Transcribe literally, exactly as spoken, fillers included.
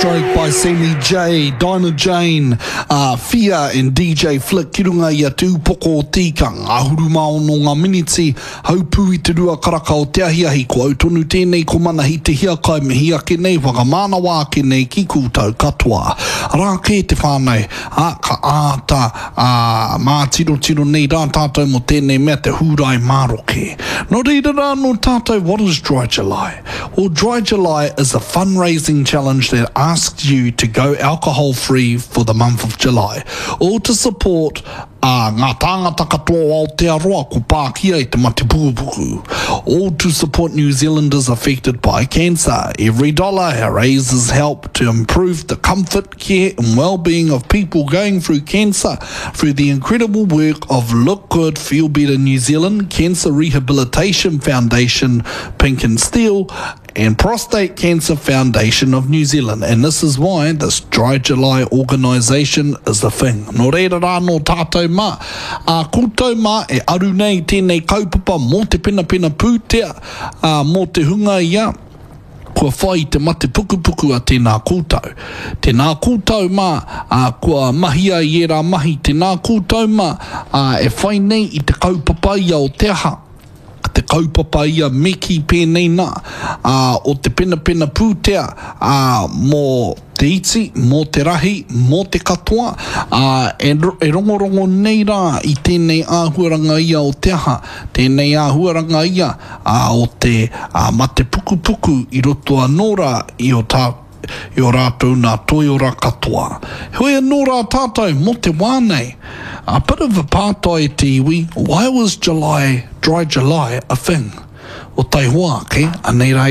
Stroke by Sammy J, Dinah Jane, uh, Fia and D J Flick ki runga i a Te Upoko o Tika, ngahuru mā ono ngā miniti, haupū i te rua karaka o te ahiahi, ko au tonu tēnei ko Manahi Te Hiakai, mihi ake nei, whakamānawa ake nei ki koutou katoa. Rā kē te whānau, a, ka āta a, mātirotiro nei rā tātou mo tēnei mea te Hūrae Maroke. Nō reira rā nō tātou, what is Dry July? Well, Dry July is a fundraising challenge that asks you to go alcohol free for the month of July, or to support uh, ngā tāngata katoa o Aotearoa ko pākia i te mate pukupuku, all to support New Zealanders affected by cancer. Every dollar raises help to improve the comfort, care and well-being of people going through cancer through the incredible work of Look Good, Feel Better New Zealand, Cancer Rehabilitation Foundation, Pink and Steel, and Prostate Cancer Foundation of New Zealand. And this is why this Dry July organisation is the thing. Nō reira rā nō tātou mā. A koutou mā e aru nei tēnei kaupapa mō te penapena pūtea, a, mō te hunga ia, kua whai i te mate pukupuku a tēnā koutou. Tēnā koutou mā, a, kua mahia i ērā mahi, tēnā koutou mā, a, e whai nei i te kaupapa ia o te aha, te kaupapa ia me kī pēnei nā, ā, o te penapena pūtea, ā, mō te iti, mō te rahi, mō te katoa, ā, e, e rongorongo nei rā i tēnei āhuaranga ia o te aha, tēnei āhuaranga ia, ā, o te ā, mate pukupuku i roto anō rā i o tā, i o rātou nā toiora katoa. Heoi anō rā tātou mō te wā nei. A bit of a pātai te iwi, why was July, Dry July a thing? O taihoa ake, anei rā.